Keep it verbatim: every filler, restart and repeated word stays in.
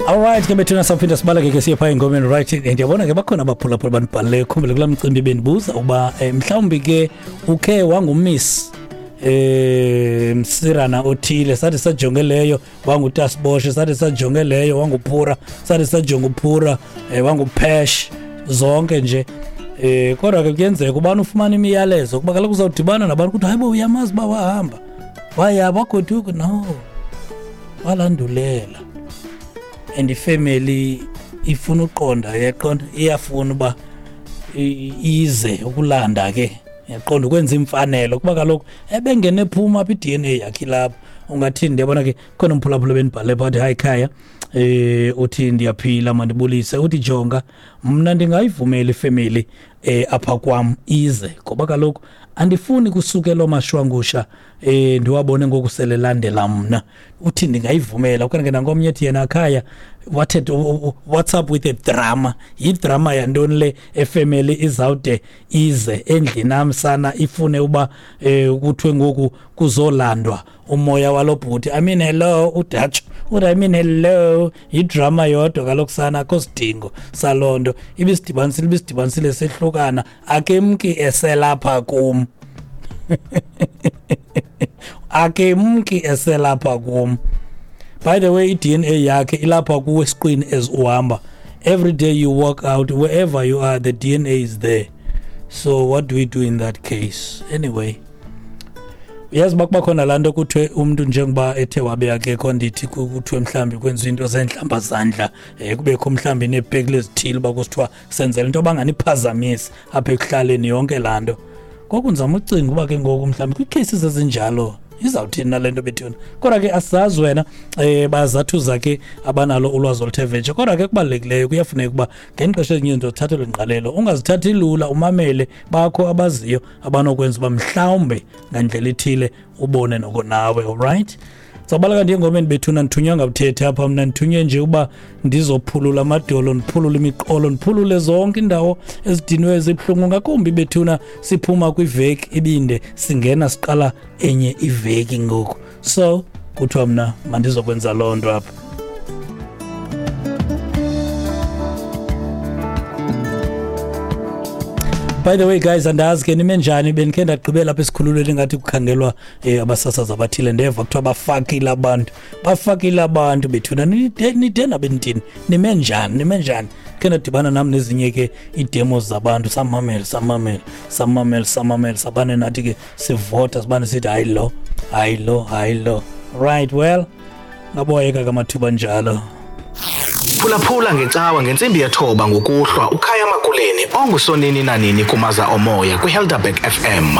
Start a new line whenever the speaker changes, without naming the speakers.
Alright ke bethuna, sawuphinda sibaleke ke siye phaa engomeni, right? Ndiyabona ke bakhona abaphulaphula banibhalileyo. Khumbule kulaa mcimbi bendibuza uba eh, mhlawumbi ke ukhe wangumiss eh msirana othile, sathi sajonge leyo wangutasiboshe, sathi sajonge leyo wanguphura, sathi sajonge uphura eh, wanguphesh zonke nje. Eh kodwa ke kuyenzeka ubani ufumana imiyalezo kuba kaloku uzawudibana nabantu kuthi hayibo uyamazi uba wahamba waya wagoduka, no walandulela. And ifamily ifuna uqonda, yaqonda, iyafuna uba ize ukulanda ke, yaqonda ukwenza imfanelo kuba kaloku ebengene ephuma apha i-D N A yakhe lapho. Ungathini? Ndiyabona ke khona umphulaphula benibhale phaa, hayi khaya eh uthi ndiyaphila mandibulise, uthi jonga mna ndingayivumela ifamily eh apha kwam ize ngoba kaloku andifuni kusukela omashwangusha eh ndiwabone ngoku selelandela mna. Uthi ndingayivumela. Okanye ke nangomnye ethi yena khaya what what's up with the drama, yidrama yantoni le efamily izawude ize endlini am sana ifune uba eh kuthiwe ngoku kuzolandwa umoya walobhuti. I mean hello uDutch, uthi I mean hello, yidrama yodwa kaloku sana, akho sidingo saloo nto, ibisidibanisile ibisidibanisile sehlukana, akemki eselapha kum akemki eselapha kum. By the way, i-D N A yakhe ilapha kuwe esiqwini as uhamba. Every day you walk out, wherever you are, the D N A is there. So what do we do in that case? Anyway, uyazi uba kuba khona laa nto kuthiwe umntu njengoba ethe wabe akekho, ndithi kuthiwe mhlawumbi kwenziwa into zeentlambazandla, um kubekho mhlawumbi neepekile ezithile uba kusithiwa senzela into yoba nganiphazamisi apha ekuhlaleni yonke laa nto. Ngoku ndizama ucinga uba ke ngoku mhlawumbi kwii-cases ezinjalo izawuthini nale nto bethuna. Kodwa ke asizazi wena, um bazathuza ke abanalo ulwazi oluthe vetshe. Kodwa ke kubalulekileyo kuyafuneka uba ngexesha elinye izinto zithathelwe ingqalelo, ungazithathi lula, umamele bakho abaziyo abanokwenza uba mhlawumbe ngandlela ithile ubone noko nawe. Alright, sawubaleka ndiye engomeni bethuna. Ndithunywa ngabuthethi apha mna, ndithunywe nje uba ndizophulula amadolo, ndiphulule imiqolo, ndiphulule zonke iindawo ezidinwe ezibuhlungu, ngakumbi bethuna siphuma kwiveki ibinde singena siqala enye iveki ngoku. So kuthiwa mna mandizokwenza loo nto apha. By the way guys, andazi ke nime njani, bendikhe ndagqibela apha esikhululweni ngathi kukhangelwa eh, abasasazi abathile, ndeva kuthiwa bafakile abantu, bafakile abantu bethuna, nide nide nabentini, nime njani, nime njani. Khe ndadibana nam nezinye ke ii-demos zabantu, samamela samamela samamela samamela sabane nathi ke sivota sibane sithi hayi lo, hayi lo, hayi lo. Right, well ngaboyeka kamathuba njalo.
Phulaphula ngecawa ngentsimbi yethoba ngokuhlwa uKhaya Makuleni ongusonini nanini kumaza omoya kwiHelderberg F M.